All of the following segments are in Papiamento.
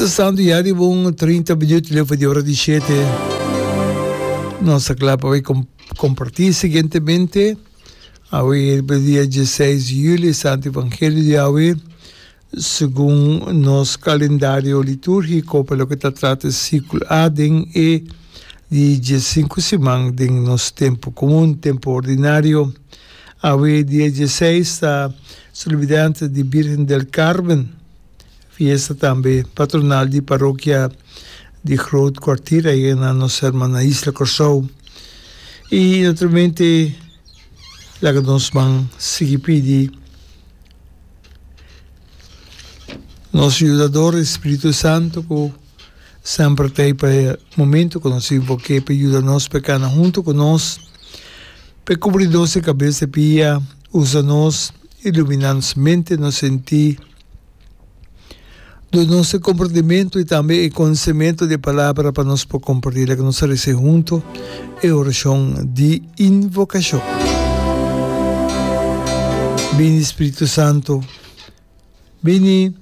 Ta stando ya riba un 30 minuut leu di ora di shete. Nos ta kla pa bai kompartí siguientemente. Awe riba dia dieseis di juli, Santo Evangelio di awe, segun nos kalendario litúrgiko pa loke ta trata e siklo A den e di diesinku siman den nos tempu komun, tempu ordinario. Awe dia dieseis ta Solemnidad di Birgen del Carmen. Fiesta tambe patronal di parokia di Groot Kwartier ei na nos hermana isla Kòrsou. I naturalmente laga nos man sigui pidi nos Yudador, e Spiritu Santo ku semper ta ei pa e momento ku nos invok'é pa yuda nos pa e kana huntu ku nos, pa e kubri nos e kabes e pia, usa nos, iluminá nos mente, nos sentí. Duna nos e komprendimentu i tambe e konosementu di e Palabra pa nos por kompartí. Laga nos resa huntu e orashon di invokashon. Bini, Spiritu Santu, bini,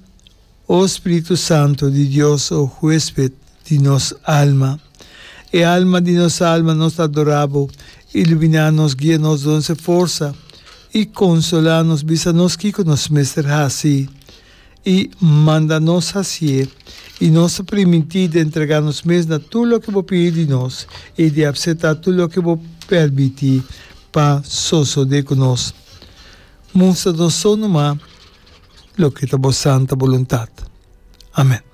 o Spiritu Santu di Dios, o huesped di nos alma. E alma di nos alma, nos ta adorá bo. Iluminá nos, guia nos, duna nos e forsa i konsolá nos. Bisa nos kiko nos mester hasi i manda nos hasié. I nos ta primintí di entregá nos mes na tur loke bo pidi di nos i di apseptá tur loke bo permití pa sosodé ku nos. Mustra nos so numa loke ta bo santa boluntat. Amèn.